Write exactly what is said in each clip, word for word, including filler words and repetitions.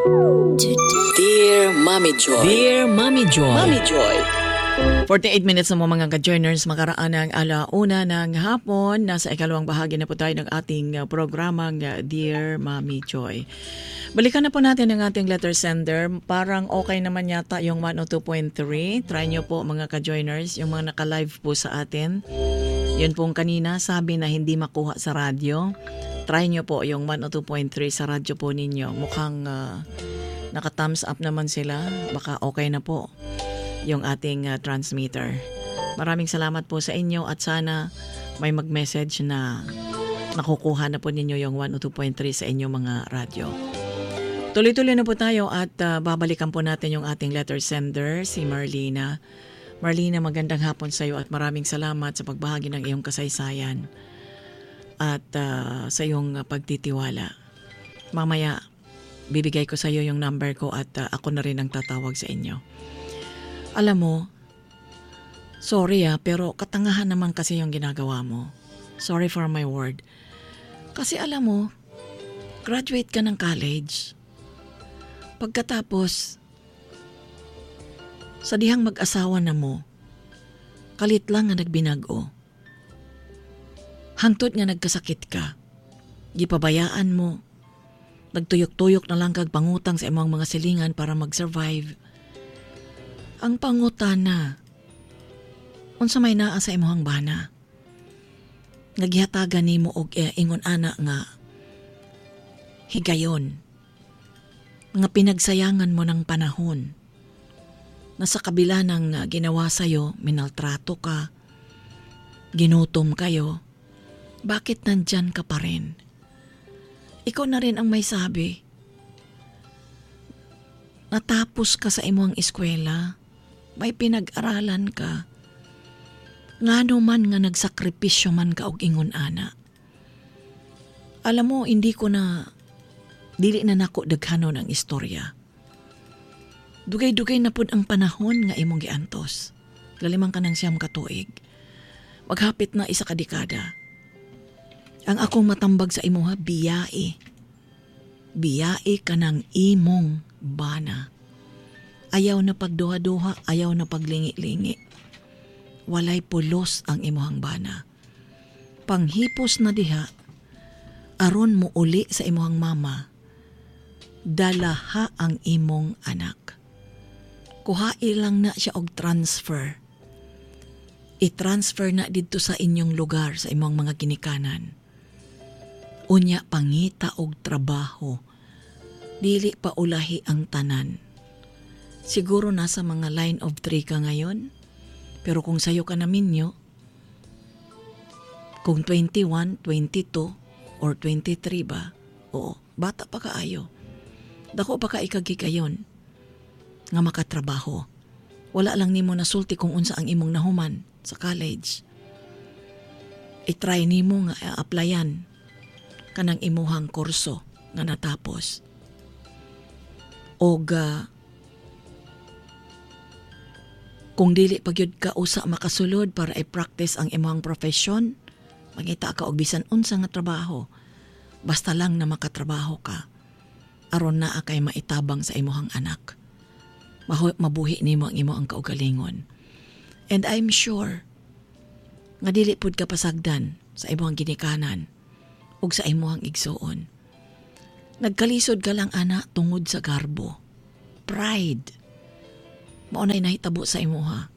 Dear Mommy Joy. Dear Mommy Joy. Mommy Joy. forty-eight minutes na mo, mga ka-joiners, makaraan ang alauna ng hapon. Nasa ikalawang bahagi na po tayo ng ating uh, programang uh, Dear Mommy Joy. Balikan na po natin ang ating letter sender. Parang okay naman yata yung one oh two point three. Try nyo po, mga ka-joiners, yung mga naka-live po sa atin. Yun pong kanina, sabi na hindi makuha sa radyo. Try nyo po yung one oh two point three sa radyo po ninyo. Mukhang uh, naka-thumbs up naman sila. Baka okay na po yung ating uh, transmitter. Maraming salamat po sa inyo at sana may mag-message na nakukuha na po ninyo yung one oh two point three sa inyong mga radyo. Tuloy-tuloy na po tayo at uh, babalikan po natin yung ating letter sender, si Marlena. Marlena, magandang hapon sa iyo at maraming salamat sa pagbahagi ng iyong kasaysayan at uh, sa iyong uh, pagtitiwala. Mamaya, bibigay ko sa iyo yung number ko at uh, ako na rin ang tatawag sa inyo. Alam mo, sorry ah, pero katangahan naman kasi yung ginagawa mo. Sorry for my word. Kasi alam mo, graduate ka ng college. Pagkatapos, sa dihang mag-asawa na mo, kalit lang nga nagbinag-o. Hangtod nga nagkasakit ka, gipabayaan mo, nagtuyok-tuyok na lang kag pangutang sa imong mga silingan para mag-survive. Ang pangutana, unsa may naa sa imong bana? Nga gihatagan nimo og eh, ingon ana nga higayon nga pinagsayangan mo ng panahon na sa kabila ng uh, ginawa sa'yo, minaltrato ka, ginutom kayo, bakit nandyan ka pa rin? Ikaw na rin ang may sabi. Natapos ka sa imong eskwela, may pinag-aralan ka. Ngano man nga nagsakripisyo man ka og ingon ana? Alam mo, hindi ko na, dili na nako daghanon ang istorya. Dugay-dugay na pud ang panahon nga imong giantos. Laliman ka ng siyam ka tuig. Maghapit na isa ka dekada. Ang akong matambag sa imuha, biyai. Biyai ka ng imong bana. Ayaw na pagduha-duha, ayaw na paglingi-lingi. Walay pulos ang imuhang bana. Panghipos na diha, aron mo uli sa imuhang mama, dalaha ang imong anak. Kuhai lang na siya og transfer. I-transfer na didto sa inyong lugar, sa imong mga ginikanan. Unya pangita og trabaho. Dili pa ulahi ang tanan. Siguro nasa mga line of three ka ngayon. Pero kung sayo ka naminyo, kung twenty-one, twenty-two, or twenty-three ba, oo, bata pa kaayo. Dako pa ka ikagigayon nga makatrabaho. Wala lang nimo nasulti kung unsa ang imong nahuman sa college. I-try nimo nga i-applyan kanang imuhang kurso nga natapos. Og uh, kung dili pa gyud ka usa makasulod para i-practice ang imong profession, mangita ka og bisan unsa nga trabaho. Basta lang na makatrabaho ka. Aron naa kay maitabang sa imuhang anak. Mahu- mabuhi nimo ang imo ang kaugalingon. And I'm sure nga dili pud ka pasagdan sa imong ginikanan ug sa imong igsuon. Nagkalisod ka lang ana tungod sa garbo. Pride. Mao na'y nahitabo sa imuha.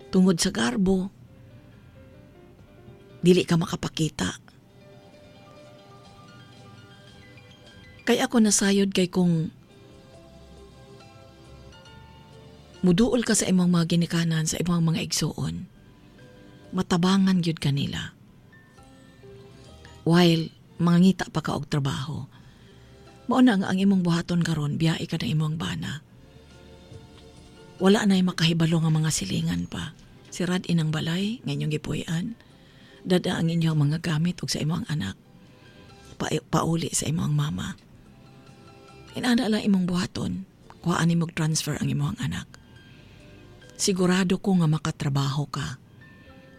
Tungod sa garbo, dili ka makapakita. Kay ako nasayod kay kung muduol ka sa imong mga ginikanan, sa imong mga igsuon, matabangan gyud kanila. While mangita pa ka og trabaho, mao na nga ang imong buhaton karon, biyai ka na imong bana. Wala na'y makahibalo nga mga silingan pa. Sirad inang balay nga inyong gipuy-an. Dada ang inyong mga gamit ug sa imong anak. Pa- pauli sa imong mama. Inana lang imong buhaton. Kuhaan nimo transfer ang imong anak. Sigurado ko nga makatrabaho ka.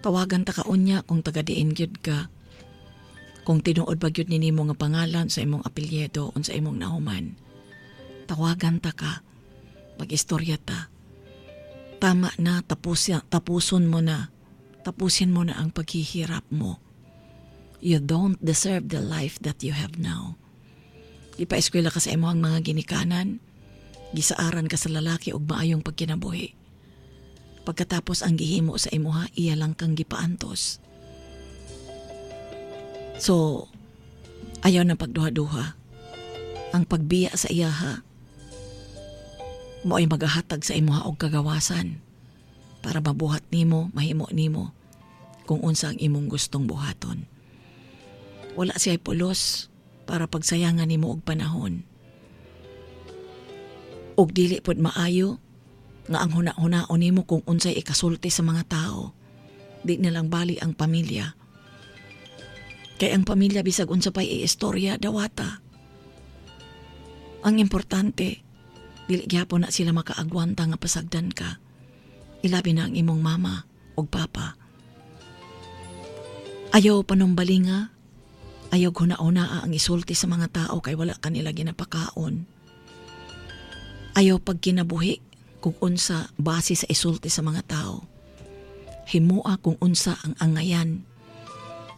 Tawagan ta ka unya kung taga diin gyud ka. Kung tinuod ba gyud ni nimo nga pangalan sa imong apelyido unsa imong nahuman. Tawagan ta ka. Mag-istorya ta. Tama na, tapos, tapuson mo na. Tapusin mo na ang paghihirap mo. You don't deserve the life that you have now. Gipa-eskwela ka sa imong mga ginikanan. Gisaaran ka sa lalaki og maayong pagkinabuhi. Pagkatapos ang gihimo sa imuha, iya lang kang gipaantos. So, ayaw na pagduha-duha. Ang pagbiya sa iyaha, mo ay magahatag sa imuha og kagawasan para mabuhat nimo, mahimo nimo kung unsa ang imong gustong buhaton. Wala siya pulos para pagsayangan nimo og panahon. Og dili pod maayo nga ang huna-hunaon nimo kung unsay ikasulti sa mga tao. Di na lang bali ang pamilya. Kay ang pamilya bisag unsa pay istorya dawata. Ang importante, dili gyapon na sila makaagwanta nga pasagdan ka. Ilabi na ang imong mama ug papa. Ayaw panumbalinga, ayaw huna-hunaa ang isulti sa mga tao kay wala kanila ginapakaon. Ayaw pagkinabuhi kung unsa base sa isulti sa mga tao. Himua kung unsa ang angayan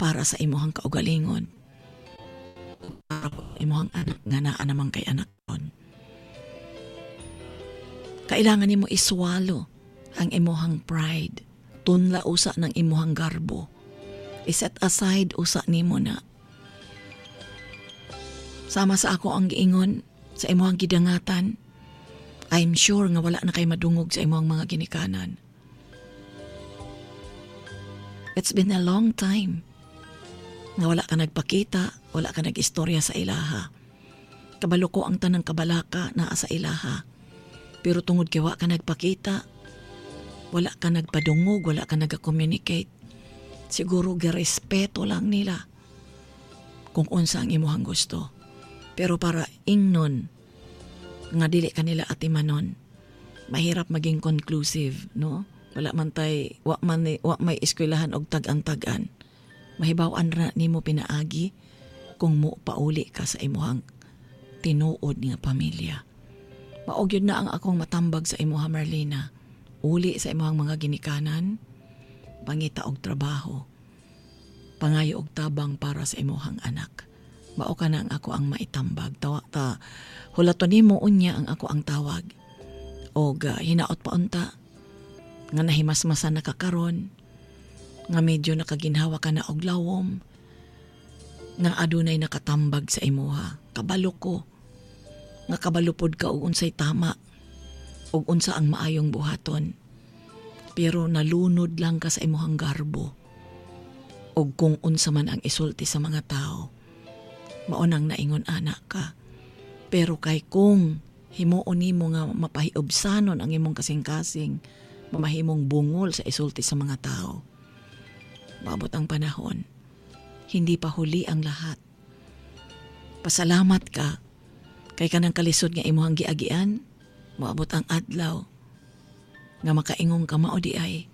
para sa imuhang kaugalingon. Para imuhang anak nga naa naman kay anak kon. Kailangan nimo i-swallow ang imuhang pride. Tunla usa ng imuhang garbo. I-set aside usa nimo na. Sama sa ako ang giingon sa imuhang gidangatan. I'm sure nga wala na kay madungog sa imuhang mga ginikanan. It's been a long time nga wala ka nagpakita, wala ka nag-istorya sa ilaha. Kabalo ko ang tanang kabalaka naa sa ilaha. Pero tungod kay wa ka nagpakita, wala ka nagpadungog, wala ka nag-communicate. Siguro girespeto lang nila kung unsa ang imuhang gusto. Pero para ingnon nga dili kanila atimanon, mahirap maging conclusive, no? Wala man tay wa man ni, wa may eskwelahan og tag-an-tag-an. Mahibaw-an ra nimo pinaagi kung mo pauli ka sa imuhang tinuod nga pamilya. Mao gyud na ang akong matambag sa imuha Marlena. Uli sa imuhang mga ginikanan, pangita og trabaho, pangayo og tabang para sa imuhang anak. Mao ka na ang ako ang maitambag. Tawa, ta, hulaton nimo unya ang ako ang tawag. Og uh, hinaot pa unta nga nahimasmasan na ka karon, nga medyo nakaginhawa ka na og lawom, nga adunay nakatambag sa imuha. Kabalo ko nga kabalo pod ka og unsay tama og unsa ang maayong buhaton. Pero nalunod lang ka sa imuhang garbo og kung unsa man ang isulti sa mga tao. Mao nang naingon anak ka. Pero kay kung himuon nimo nga mapahiubsanon ang imong kasing-kasing, mamahimong bungol sa isulti sa mga tao. Maabot ang panahon, hindi pa huli ang lahat. Pasalamat ka kay kanang kalisod nga imuhang giagian, moabot ang adlaw nga makaingong ka mao di ay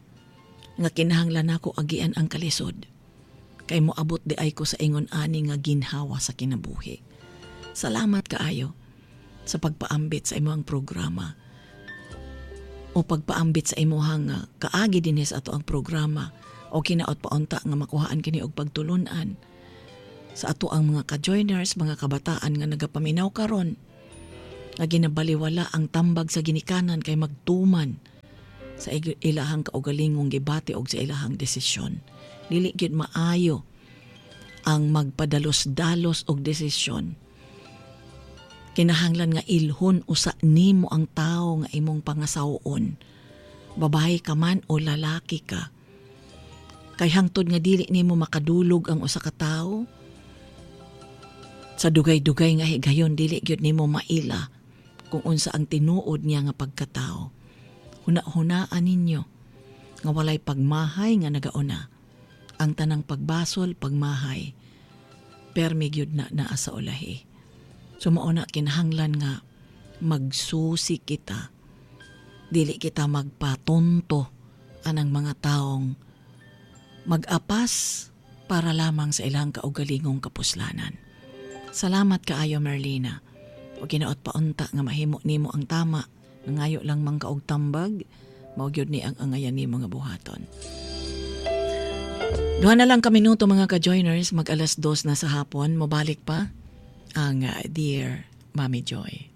nga kinahanglan nako agian ang kalisod kay moabot di ay ko sa ingon ani nga ginhawa sa kinabuhi. Salamat kaayo sa pagpaambit sa imong programa o pagpaambit sa imuhang uh, kaagi dinhi sa ato ang programa o kinaot paunta nga makuhaan kini og pagtulunan sa ato ang mga ka-joiners, mga kabataan nga nagapaminaw karon nga ginabaliwala ang tambag sa ginikanan kay magtuman sa ilahang kaugalingong gibati og sa ilahang desisyon. Dili gyud maayo ang magpadalos-dalos og desisyon. Kinahanglan nga ilhon usa nimo ang tawo nga imong pangasawon. Babae ka man o lalaki ka. Kay hangtod nga dili nimo makadulog ang usa ka tawo, sa dugay-dugay nga higayon dili gyud nimo maila kung unsa ang tinuod niya nga pagkatao. Huna-hunaan ninyo nga walay pagmahay nga nagauna. Ang tanang pagbasol, pagmahay, permi gyud na naa sa ulahi. So mao na kinahanglan nga magsusi kita. Dili kita magpatonto anang mga taong mag-apas para lamang sa ilang kaugalingong kapuslanan. Salamat kaayo Merlina O ginaot pa unta nga mahimo nimo ang tama, nangayo lang man ka og tambag, mao gyud ni ang angayan nimo nga buhaton. Duha na lang ka minuto, mga ka-joiners, mag alas dos na sa hapon, mobalik pa ang uh, Dear Mommy Joy.